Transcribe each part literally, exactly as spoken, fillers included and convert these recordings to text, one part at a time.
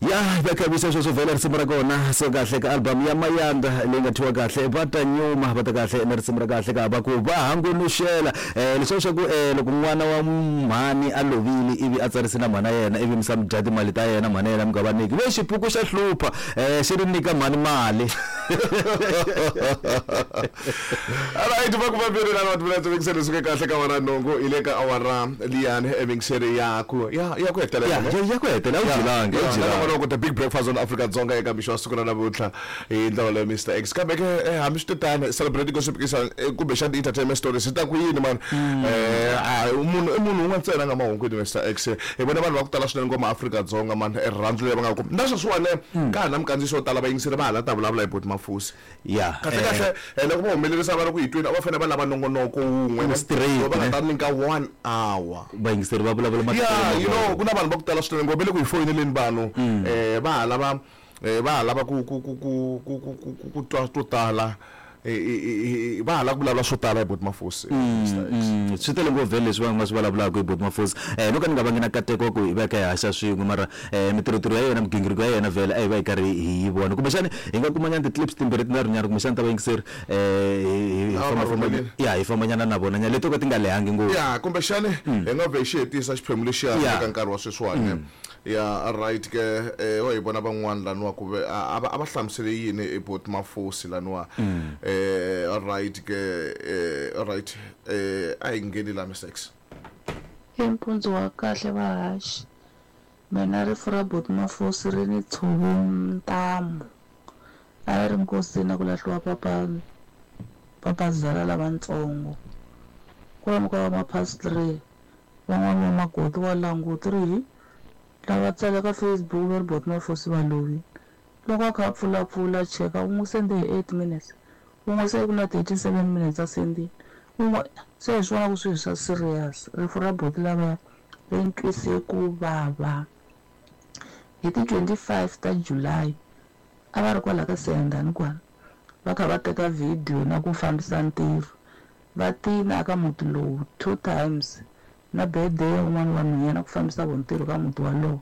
Ya va khavisa sweswo vhele risimu ra kona so kahle ka album ya Mayanda leyi nga thyiwa kahle va ta nyuma va ta kahle na risimu ra kahle ka va ku va hangunuxela um leswiya swa ku um loko n'wana wa mhani a lovile ivi a tsarise na mhana yena ivi mi sa mi dya timali ta yena mhana yena mi nga va nyiki ve xipuku xa hlupha um xi ri nyika mhani mali. Alright, va ku vambirhi na va timinetse mingiseri suke kahle ka wara nhungu hi le ka awara liyani emingiseri ya ku ya ya ku hetelela. Ya ya ya ku hetelela, a wu byelanga, a wu byelanga. Loko the big breakfast on Afrika Dzonga eka mixo wa siku ra namuntlha hi ndlela leyo Mister X, kambe ke eh, hambi swi tano celebrating gossip kisa kumbexana entertainment stories hi ta ku yini mani eh a munhu i munhu un'wana ntsena nga mahungwini Mister X hi vona vanhu va ku tala swinene ngoma Afrika Dzonga mani rirhandzu leri va nga kuma na sweswiwani ka ha na minkandziyiso yo tala vayingiseri va ha la ta vulavula hi Boti Mafusi. Ya kahle kahle eh, loko va humelerisa va ri ku hi twini a va fanele va lava nongonoko wun'we straight, va nga ne? ta nyika one hour. Vayingiseri va vulavula ya you know ku na vanhu va ku tala swinene ngopfu va le ku hi foyineleni vanhu eh va ha lava eh, va ha lava ku ku ku ku ku ku ku ku- ku twa to tala eh, eh, eh, va ha lava ku vulavula swo tala hi Boti Mafusi Mister X. Mm, swi tele ngopfu vhele leswi va nga swi vulavulaka hi Boti Mafusi um no ka ni nga vangi na nkateko wa ku hi va kha hi haxa swin'we mara um mitirhotiro ya yena migingiriko ya yena vhele a hi va hi karhi hi yi vona kumbexani hi nga kumanyana ti-clips timbirhi tinharhunyana kumbexani ta vayingiseri um hi Ah, fambafamba rhumelile. ya hi fambanyana na vona nyana leto ka ti nga lehangi ngopfu. Ya kumbexani hi nga vhe hi xi hetisa xiphemu lexiya Ya. eka nkarhi wa sweswiwani. Ya right ke eh wa hi vona van'wana laniwa ku ve a a va a va hlamusele yini hi Boti Mafusi laniwa eh right ke eh right eh a hi ngheni la Mister X. I mpundzu wa kahle vahaxi mina rifu ra Boti Mafusi ri ni tshove ntamu a yi ri nkosini a ku lahliwa papa papazala lavatsongo kwalomu ka va ma past three van'wani va makoti wa languti ri hi lava tsala ka Facebook va ri Boti Mafusi va lovile loko a kha a pfulapfula cheka u n'wi sende hi eight minutes un'we se ku na thirty seven minutes a sendile un'we se hi swona ku swilo swa serious rifu ra boti lavaya ri ni twise ku vava hi ti twenty five ta July a va ri kwala ka Siyandhani kwala va kha va teka video na ku fambisa ntirho va tina aka muti lowu two times na birthday ya un'wana wa nhwanyana ku fambisa vo ntirho ka muti walowo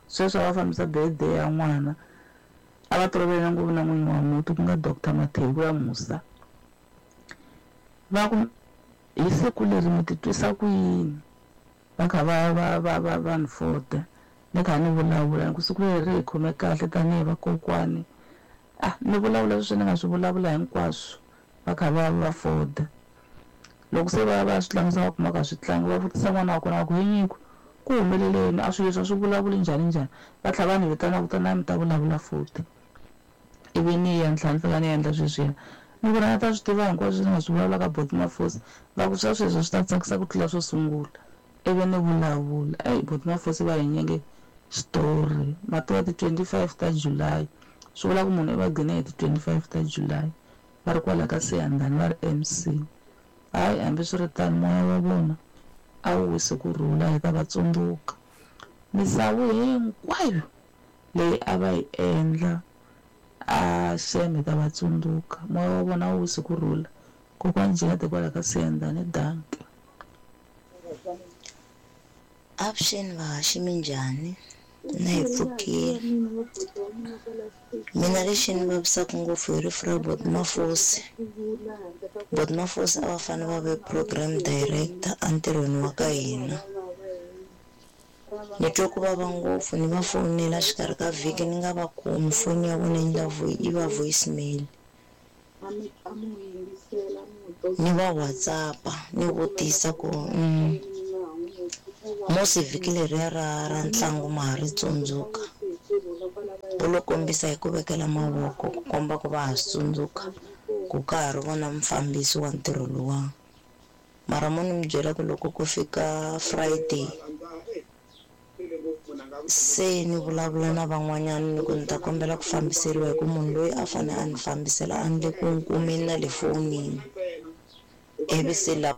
sweswo a va fambisa birthday ya n'wana a va tolovele ngopfu na n'winyi wa muti ku nga Doctor Mathebula Musa va ku hi siku leri mi titwisa ku yini va kha va va va va va ni fota ni kha ni vulavula ni ku siku leri ri hi khome kahle tanihi vakokwani ah ni vulavula leswi ni nga swi vulavula hinkwaswo va kha va va foda loko se va ya va ya swi tlangisa va kuma ka swi tlangi va vutisa n'wana wa kona va ku he nyiko ku humeleleni a swilo leswi a swi vulavuli njhani njhani va tlhela va ni vitana ku ta mi ta vulavula futhi ivi ni ya ni tlhela ni fika ni endla sweswiya ni ku ri a ta swi tiva hinkwaswo ni nga swi vulavula ka Boti Mafusi va ku swa sweswo swi ta tsakisa ku tlula swo sungula ivi ni vulavula eyi Boti Mafusi va hi nyike xitori ma tiva ti twenty five ta July swi vula ku munhu i va gcine hi ti twenty five ta July va ri kwala ka Siyandhani va ri M C hayi hambiswiritano moya wa vona a wu wisi kurhula hi ta va tsundzuka misavu hinkwayo leyi a va yi endla a xem hi ta va tsundzuka moya wa vona a wu wisi kurhula kokwani Jeanette kwala ka Siyandhani dankie. Avuxeni vahaxi minjhani na hi pfukile mina lexi ni vavisaka ngopfu hi rifu ra Boti Mafusi Boti Mafusi a va fanele va ve program director entirhweni wa ka hina ni twe ku vava ngopfu ni va fonela xikarhi ka vhiki ni nga va kumi foni ya vona yi la yi va voicemail ni va WhatsApp-a ni vutisa ku musi vhiki leriya ra ra ntlangu ma ha ri tsundzuka va lo kombisa hi ku vekela mavoko ku komba ku va ha swi tsundzuka ku ka ha ri vona mufambisi wa ntirho luwa mara mo ni mi byela ku loko ku fika Friday se ni vulavula na van'wanyana ni ku ni ta kombela ku fambiseriwa hi ku munhu loyi a fanele a ni fambisela a ni le ku n'wi kumeni na le fonini ivi se la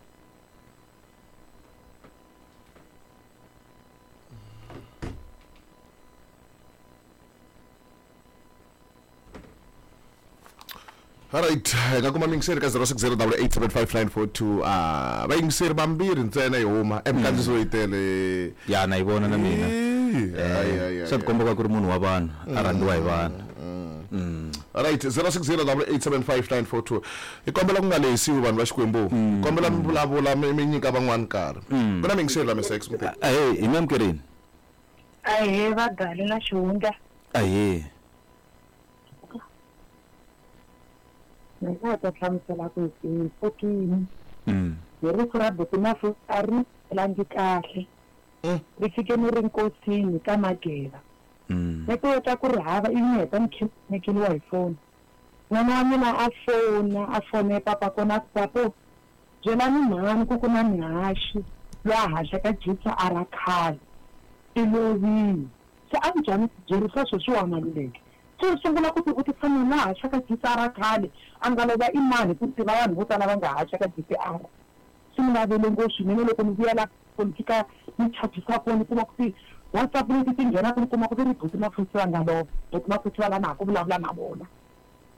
Alright, hi nga kuma miyingiseri ka zero six zero double eight seven five nine four two. Ah, vayingiseri vambirhi ntsena hi huma eminkandziyiso yi tele. Ya na yi vona na mina. Eh, swa tikomba ku ri munhu wa vanhu a rhandziwa hi vanhu. Right, zero six zero double eight seven five nine four two. Hi kombela ku nga lehisiwi vanhu va Xikwembu. Kombela mi vulavula mi mi nyika van'wana nkarhi. Ku na mingiselo la Mister X Muteki. Ahee, hi mi amukerini. Ahee, vagali na xihundla. Ahee. Ni nga ta hlamusela ku hi pfukini. Hi rifu ra buti Mafosi a ri langi kahle. Ri fike ni ri nkosini ka Mageva. Ni ku ta ku ri hava ivi ni heta ni khekeliwa hi foni. N'wana wa mina a fona a fone papa kona a ku papo byelani mhani ku ku na mihaxi loyi a haxaka jitsa a ra khale i lovile. Se a njhani byerisa sweswiwa Maluleke. Se u sungula ku tivutisa munhu la haxaka jitsa ra khale a nga lova i mani ku tiva vanhu vo tala va nga haxaka jitsa a. Swi ni vavele ngopfu swinene loko ni vuya la ni fika ni chajisa foni kuma ku ti WhatsApp leti ti nghenaka ni kuma ku ti ri buti Mafosi va nga lova, buti Mafosi va la na ha ku vulavula na vona.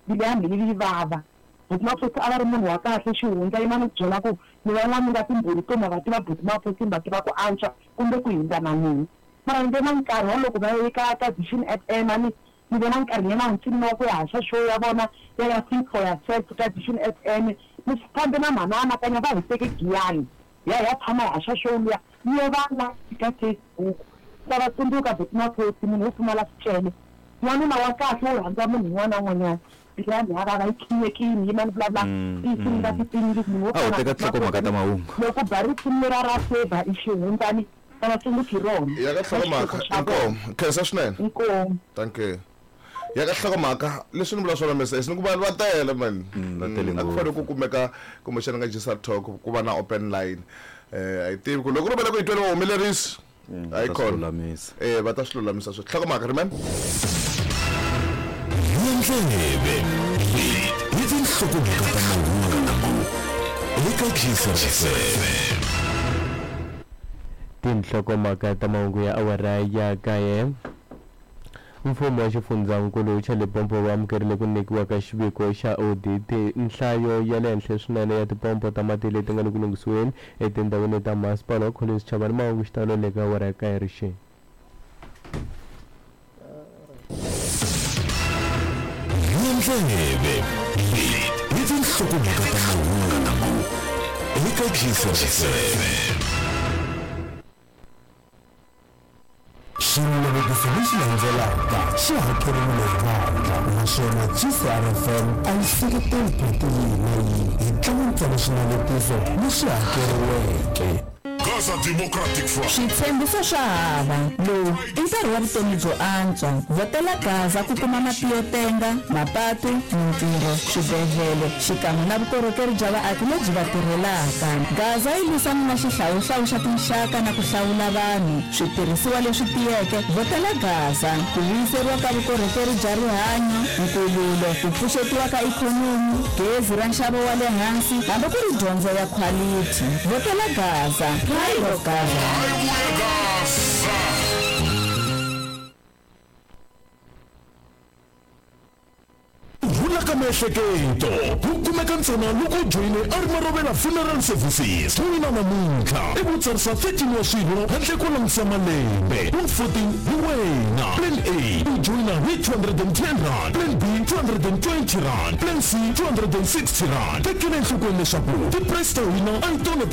Mbilu ya mina yi vava. Buti Mafosi a va ri munhu wa kahle xihundla yima ni ku byela ku ni van'wana mi nga timbhoni to ma va tiva buti Mafosi mi va tiva ku antswa kumbe ku hindza na mina. Mara ni ve na nkarhi wa loko va ye ka ka Vision F M a ni ni ve na nkarhi nyana ntsini wa ku ya haxa show ya vona ya ya Think for Yourself ka Vision F M. Ni fambe na mhana anakanya va hi teke Giyani ya ya tshama hi haxa show liya ni yo va la ka Facebook. Ta va tsundzuka buti Mafosi munhu wo pfumala swicele. N'wanuna wa kahle wo rhandza munhu un'wana na un'wanyana. Mbilu ya mina ya vava yi khinyekile yima ni vulavula tinsimu ta tipingi munhu wo A wu teka tinhlokomhaka ta mahungu. Loko ba risimu ra ra Favour i xihundlani ta va tsundzuki rona. Ya ka nhlokomhaka inkomu. Khensa swinene. Inkomu. Thank you. Ya ka nhlokomhaka leswi ni vula swona Mister X ni ku vanhu va tele man. Va tele A ku ngopfu. fanele ku kumeka kumbexana ka G S R Talk ku va na open line. Eh a yi tivi ku loko ri vele ku yi twele vahumelerisi. Va Hayi ta swi khona. lulamisa. Eh va ta swi lulamisa swi. Nhlokomhaka remain. Ndleve hi tinhlokomhaka ta mahungu eka G S R F M. Tinhlokomhaka ta mahungu ya awara ya kaye. Mfumo wa xifundzankulu xa Limpopo wu amukerile ku nyikiwa ka xiviko xa audit nhlayo ya le henhla swinene ya tipompo ta mati leti nga le ku lunghisiweni etindhawini ta masipala wa Collins Chabane. Mahungu xitalo le ka awara ya kaye rixeni. Ndleve hi tinhlokomhaka ta mahungu eka G S R F M. Xinavetiso lexi landzelaka xi hakeriwile hi vandla naswona G C R F M a yi seketeli phati yihi na yihi hi tlanga ntsena swinavetiso leswi hakeriweke. Gaza Democratic Front. Switshembiso swa hava lowu i nkarhi wa vutomi byo antswa. Vhotela Gaza ku kuma mati yo tenga, mapatu, mintirho, swibedhlele xikan'we na vukorhokeri bya vaaki lebyi va tirhelaka. Gaza yi lwisana na xihlawuhlawu xa tinxaka na ku hlawula vanhu switirhisiwa leswi tiyeke. Vhotela Gaza ku vuyiseriwa ka vukorhokeri bya rihanyo, nkululo, ku pfuxetiwa ka ikhonomi, gezi ra nxavo wa le hansi hambi ku ri dyondzo ya khwalithi. Vhotela Gaza. Pride of Gaza. Gaza. Rhula ka miehleketo ku kumeka ntsena loko u joyine Armarovela Funeral Services. Joyina namuntlha i ku tsarisa thirteen wa swirho handle ko langutisa malembe. Ku fourteen hi wena. Plan A u joyina hi two hundred and ten rand, Plan B two hundred and twenty rand, Plan C two hundred and sixty rand. Tekela enhlokweni leswaku ti-price ta hina a hi tona.